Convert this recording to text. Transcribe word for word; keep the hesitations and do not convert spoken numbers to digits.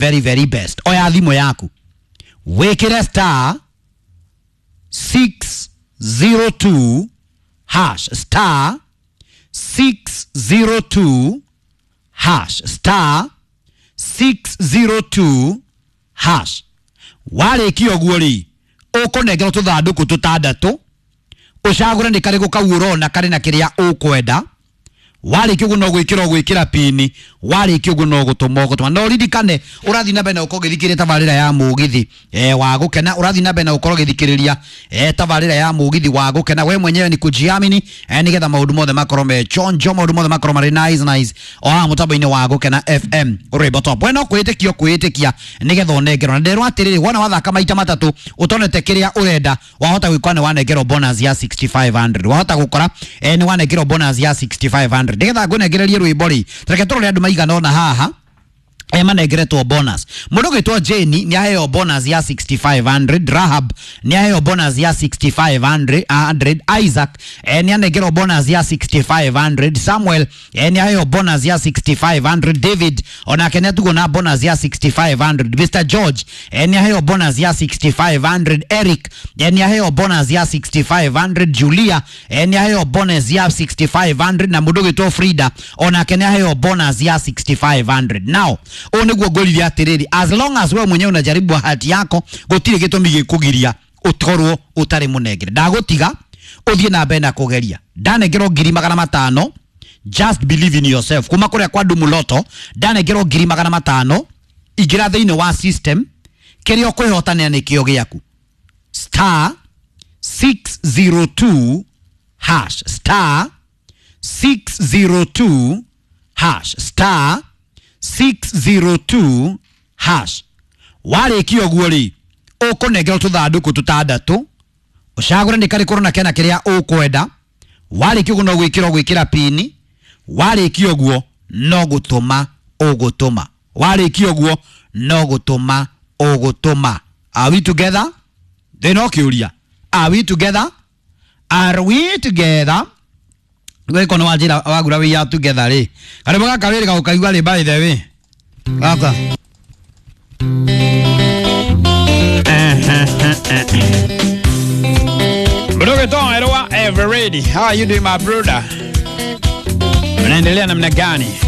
Very very best. Oya thimũ yaku, wĩkĩre star six zero two hash, star six zero two hash, star six zero two hash. Warĩkia ũguo rĩ, ũkũnengerwo tũthandũkũ tũtandatũ, ũcagũre nĩ karĩkũ kau ũrona karĩ na kĩrĩa ũkwenda. Warĩkia ũguo no gwĩkĩra ũgwĩkĩra pini. Warĩkia ũguo no gũtũma ũgũtũma. No ririkane ũrathiĩ na mbere na gũkorwo ũgĩthikĩrĩria tabarĩra ya Mũgithi eh, wa Gũkena. Ũrathiĩ na mbere na gũkorwo ũgĩthikĩrĩria eh, tabarĩra ya Mũgithi wa Gũkena. We mwenyewe ni kujiamini eh, nĩgetha maũndũ mothe makorwo me chonjo, maũndũ mothe makorwo marĩ nice nice o haha mũtambo-inĩ wa Gũkena F M, rwĩmbo top. We no kwĩĩtĩkia ũkwĩĩtĩkia nĩgetha ũnengerwo. Na nderwo atĩrĩrĩ, wona wathaka maita matatũ ũtonete kĩrĩa ũrenda, wahota gwĩkora nĩ wanengerwo bonus ya six thousand five hundred, wahota gũkora eh, nĩ wanengerwo bonus ya six thousand five hundred. Nĩgetha ngũnengererie rwĩmbo rĩ, reke tũrore andũ maigana ũna haha eh, manengeretwo bonus. Mũndũ ũgwĩtwo Jane nĩ aheo bonus ya six thousand five hundred. Rahab nĩ aheo bonus ya six thousand five hundred. Isaac eh, nĩ anengerwo bonus ya six thousand five hundred. Samuel eh, nĩ aheo bonus ya six thousand five hundred. David onake nĩ atugwo na bonus ya six thousand five hundred. Mister George eh, nĩ aheo bonus ya six thousand five hundred. Eric eh, nĩ aheo bonus ya six thousand five hundred. Julia eh, nĩ aheo bonus ya six thousand five hundred, na mũndũ ũgwĩtwo Frida onake nĩ aheo bonus ya six thousand five hundred. Now ũũ nĩguo ngũrire atĩrĩrĩ, as long as wewe mwenyewe unajaribu bahati yako, gũtirĩ gĩtũmi gĩkũgiria ũkorwo ũtarĩ mũnengere. Ndagũtiga ũthiĩ na mbere na kũgeria. Ndanengerwo ngiri magana matano. Just believe in yourself. Kuma kũrĩa kwa Ndumuloto ndanengerwo ngiri magana matano. Ingĩra thĩinĩ wa system, kĩrĩa ũkwĩhotanĩra nĩkĩo gĩaku. Star six zero two hash, star six zero two hash, star six zero two hash. Warĩkia ũguo rĩ, ũkũnengerwo tũthandũkũ tũtandatũ, ũcagũre nĩ karĩkũ ũrona kena kĩrĩa ũkwenda. Warĩkia ũguo no gwĩkĩra ũgwĩkĩra pini. Warĩkia ũguo no gũtũma ũgũtũma. Warĩkia ũguo no gũtũma ũgũtũma. Are we together? Thĩna ũkĩũria, are we together? Are we together? Gwĩko nĩ wanjĩra wagura we are together rĩ, karĩmwe gaka wĩrĩ gagũkaigua rĩ. By the way, gaka. Mdogo Erwa Eveready. How are you doing, my brother? Unaendelea namna gani?